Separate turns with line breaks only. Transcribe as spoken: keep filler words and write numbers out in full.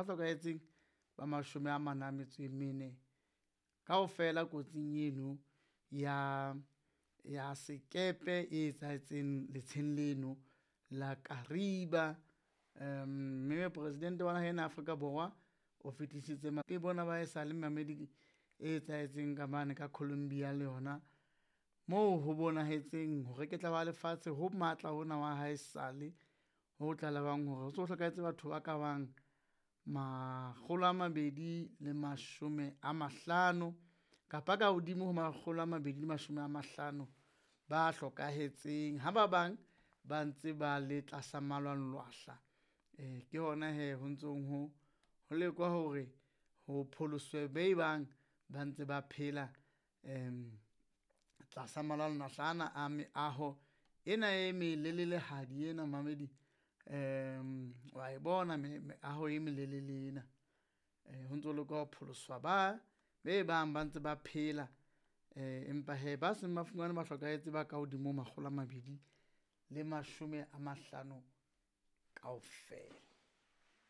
Batho ba hlokahetseng ba mashome a mane a metso e mene kaofela kotsing eno ya, ya sekepe e etsahetseng letsheng leno la Kariba. Mme Presidente wa naha ena ya Afrika Borwa o fetisitse bona ba e sale mmamedi e etsahetseng ka mane ka Colombia le yona. Moo ho bonahetseng ho reketla hwa lefatshe ho matla hona wa haesale ho tlalehwang hore ho so hlokahetse batho ba ka bang makgolo a mabedi le mashome a mahlano kapa ka hodimo ho makgolo a mabedi le mashome a mahlano ba hlokahetseng. Ha ba bang ba ntse ba le tlasa malwanglwahla, ke hona hee ho ntsong ho, ho lekwa hore ho pholoswe be bang ba ntse ba phela tlasa malwanglwahla ana a meaho ena e melelelehadi ena momamedi. Wa e bona meaho e melelele ena, ho ntso lekwa ho pholoswa ba be bang ba ntse ba phela. Empa hee ba seng ba fumanwe ba hlokahetse ba ka hodimo ho makgolo a mabedi le mashome a mahlano kaofela.